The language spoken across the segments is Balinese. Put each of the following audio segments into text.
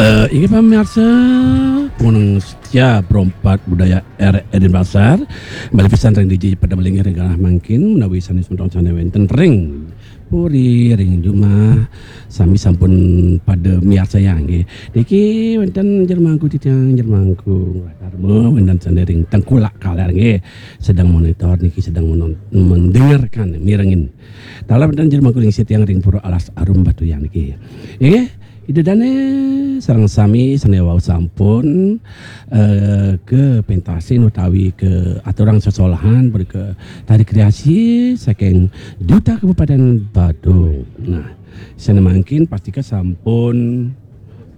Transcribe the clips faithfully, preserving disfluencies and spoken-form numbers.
Eh, inggih pamiarsa, pengunung setia Perompak Budaya R R Denpasar, malih pisan ring D J pada malinggih ring galah mangkin, menawi sanes semeton sane wenten ring puri, ring jumah, sami sampun pada miarsayang nggih. Niki wenten jero mangku titiang, jero mangku Karma, wenten sane ring Tengkulak Kaler nggih. Sedang monitor niki, sedang menon-, mendengarkan, mirengin. Taler wenten jero mangku ring sitiang ring Pura Alas Arum Batuyang niki. Nggih, Ida Dane sareng sami sane wau sampun, eh, kapentasin utawi kaaturang sesolahan berke tari kreasi saking Duta Kabupaten Badung. Nah, sane mangkin pastika sampun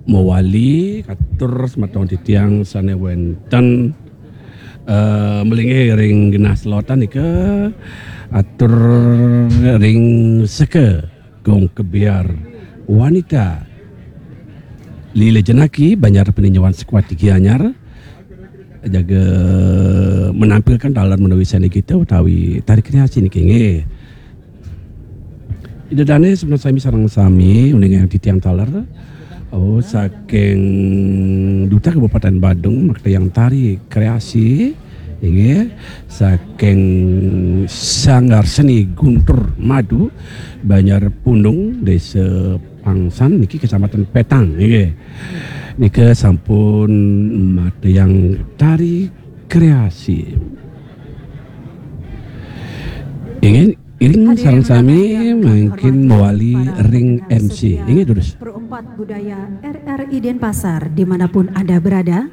mawali katur semeton titiang sane wenten, eh, malinggih ring genah selotan nika, atur ring seka Gong Kebyar Wanita Lila Janaki, Banjar Peninjauan Sekuati Gianyar, jaga menampilkan taler menawi seni kita utawi tari kreasi niki nggih. Ida Dane semeton sami sareng sami uning titiang taler. Oh, saking Duta Kabupaten Badung, makta yang tari kreasi, inggih, saking Sanggar Seni Guntur Madu, Banjar Pundung, Desa Pangsan, niki Kecamatan Petang, inggih. Nika sampun makta yang tari kreasi. Inggih, iring sareng sami mangkin mawali ring M C. Inggih, durus. Perompak Budaya R R I Denpasar, dimanapun Anda berada,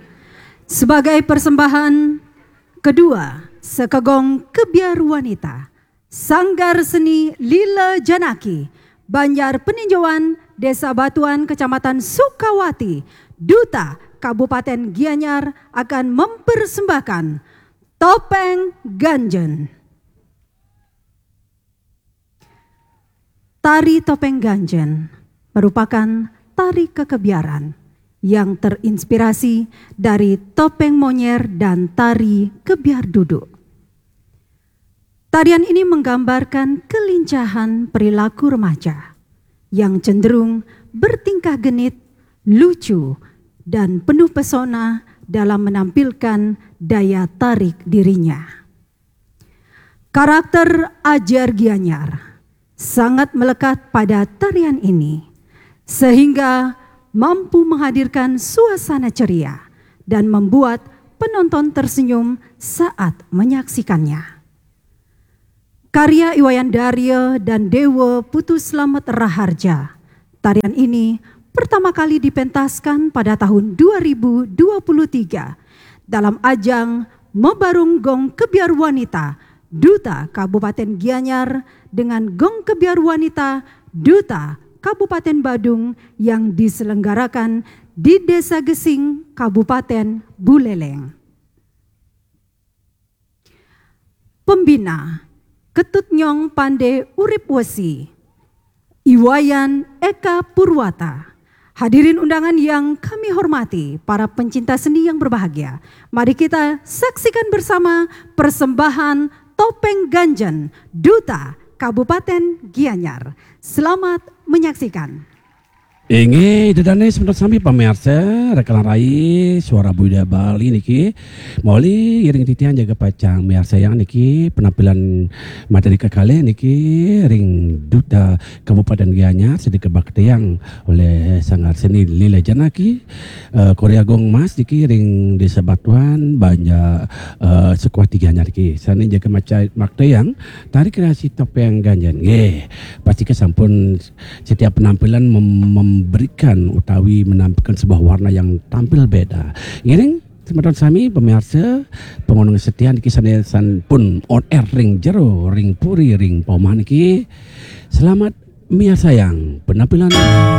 sebagai persembahan kedua, Sekegong Kebyar Wanita, Sanggar Seni Lila Janaki, Banjar Peninjauan, Desa Batuan, Kecamatan Sukawati, Duta Kabupaten Gianyar akan mempersembahkan Topeng Ganjen. Tari Topeng Ganjen merupakan tari kekebiaran yang terinspirasi dari topeng monyer dan tari kebyar duduk. Tarian ini menggambarkan kelincahan perilaku remaja yang cenderung bertingkah genit, lucu, dan penuh pesona dalam menampilkan daya tarik dirinya. Karakter Ajar Gianyar sangat melekat pada tarian ini, sehingga mampu menghadirkan suasana ceria dan membuat penonton tersenyum saat menyaksikannya. Karya I Wayan Darya dan Dewa Putu Slamet Raharja, tarian ini pertama kali dipentaskan pada tahun dua ribu dua puluh tiga dalam ajang Mebarung Gong Kebyar Wanita Duta Kabupaten Gianyar dengan Gong Kebyar Wanita Duta Kabupaten Badung yang diselenggarakan di Desa Gesing, Kabupaten Buleleng. Pembina, Ketut Nyong Pande Urip Wesi, I Wayan Eka Purwata. Hadirin undangan yang kami hormati, para pencinta seni yang berbahagia, mari kita saksikan bersama persembahan Topeng Ganjen Duta Kabupaten Gianyar. Selamat menyaksikan. Inggih, Ida Dane semeton sami pamiarsa, Rekalan Rai Suara Budaya Bali niki. Mawali iring titiang jaga pacang miarsayang niki penampilan materi kekalih niki ring Duta Kabupaten Gianyar sida kabaktayang oleh Sanggar Seni Lila Janaki, eh, Korea Gong Mas niki ring Desa Batuan, Banjar, eh, Sekuati Gianyar niki. Sane jaga maca-, maktayang tari kreasi Topeng Ganjen. Nggih, pastika sampun setiap penampilan mem-, memberikan utawi menampilkan sebuah warna yang tampil beda. Ngiring semeton sami pamiarsa, pengunung setia niki sane sampun on air ring jero, ring puri, ring paumahan niki. Selamat miarsayang penampilan